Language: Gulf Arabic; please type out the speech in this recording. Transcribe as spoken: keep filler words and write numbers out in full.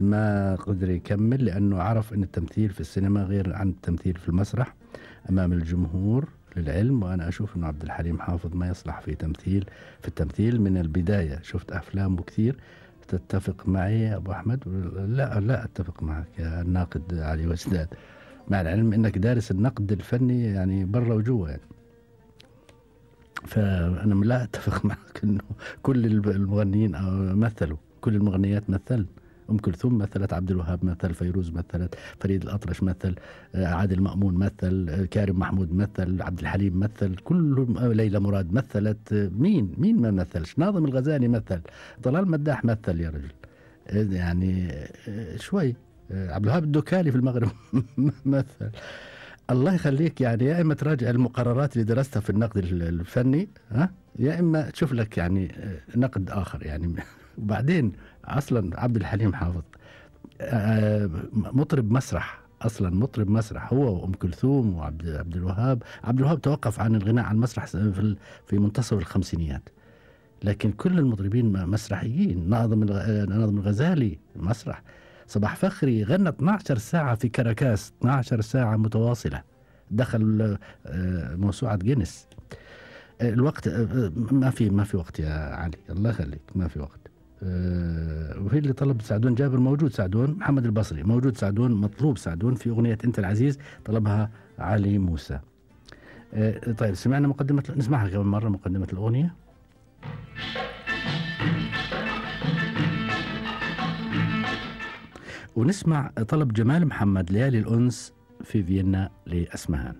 ما قدر يكمل لأنه عرف أن التمثيل في السينما غير عن التمثيل في المسرح أمام الجمهور للعلم. وأنا أشوف أنه عبد الحليم حافظ ما يصلح في تمثيل في التمثيل من البداية. شفت أفلامه كثير. تتفق معي يا أبو أحمد؟ لا لا أتفق معك يا الناقد علي وجداد، مع العلم أنك دارس النقد الفني يعني برا وجوا يعني. فأنا لا أتفق معك أنه كل المغنيين مثلوا، كل المغنيات مثل. أم كلثوم مثلت، عبد الوهاب مثل، فيروز مثلت، فريد الأطرش مثل، عادل مأمون مثل، كارم محمود مثل، عبد الحليم مثل، كلهم، ليلى مراد مثلت. مين مين ما مثلش؟ ناظم الغزالي مثل، طلال مداح مثل يا رجل يعني شوي. عبد الوهاب الدكالي في المغرب مثل. الله يخليك يعني، يا إما تراجع المقررات اللي درستها في النقد الفني، ها، يا إما تشوف لك يعني نقد آخر يعني. وبعدين أصلا عبد الحليم حافظ مطرب مسرح، أصلا مطرب مسرح هو وأم كلثوم وعبد عبد الوهاب. عبد الوهاب توقف عن الغناء عن المسرح في في منتصف الخمسينيات، لكن كل المطربين مسرحيين. ناظم ناظم الغزالي مسرح. صباح فخري غنى اثنتا عشرة ساعة في كاراكاس، اثنتا عشرة ساعة متواصلة، دخل موسوعة جينيس. الوقت ما في ما في وقت يا علي، الله يخليك ما في وقت. وفي اللي طلب سعدون جابر موجود، سعدون محمد البصري موجود، سعدون مطلوب، سعدون في أغنية أنت العزيز طلبها علي موسى. طيب سمعنا مقدمة، نسمعها كمان مرة مقدمة الأغنية. ونسمع طلب جمال محمد ليالي الأنس في فيينا لأسمهان.